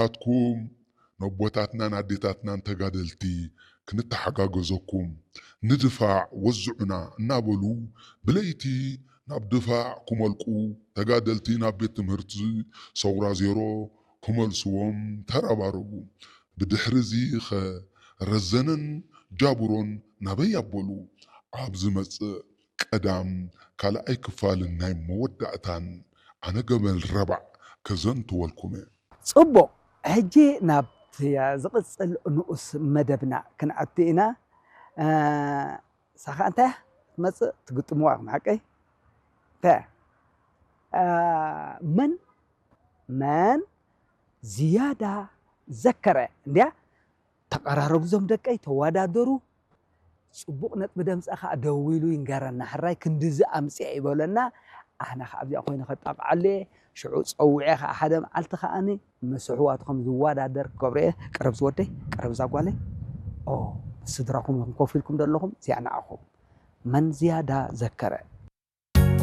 ኣትኩም ነቦታትናን ኣዴታትናን ተጋደልቲ ክንተሓጋገዘኩም ንድፋዕ ወዝዑና እናበሉ ብለይቲ ናብ ድፋዕ ክመልቁ ተጋደልቲ ናብ ቤት ትምህርቲ ሰውራ ዜሮ ክመልስዎም ተረባረቡ። ብድሕሪ እዚ ኸ ረዘነን ጃብሮን ናበይ ኣበሉ? ኣብ ዝመጽእ ቀዳም ካልኣይ ክፋልን ናይ መወዳእታን ኣነ ገመል ረባዕ ከዘንትወልኩም እየ። ጽቡቕ፣ ሕጂ ናብቲ ዝቕጽል ንኡስ መደብና ክንኣቱ ኢና። ሳኻ እንታይ ትመጽእ ትግጥምዋ ኢኹም ሓቀይ? እንታይ መን መን ዝያዳ ዘከረ እንድያ? ተቐራረቡ ዞም ደቀይ፣ ተወዳደሩ። ጽቡቕ ነጥቢ ደምጻ ከዓ ደዊሉ ይንገረና። ሕራይ ክንድዚ ኣምጽአ ይበለና። ኣነ ከዓ ኣብዚኣ ኮይነ ከጣቕዓሉ እየ። ሽዑ ጸዊዐ ከዓ ሓደ መዓልቲ ከዓኒ ምስ ኣሕዋቱ ከም ዝወዳደር ክገብሮ እየ። ቀረብ ዝወደይ፣ ቀረብ እዛ ጓለይ። ኦ፣ ምስ ስድራኹም ኢኹም ኮፍ ኢልኩም ዘለኹም፣ እዚኣ ንዓኹም። መን ዝያዳ ዘከረ?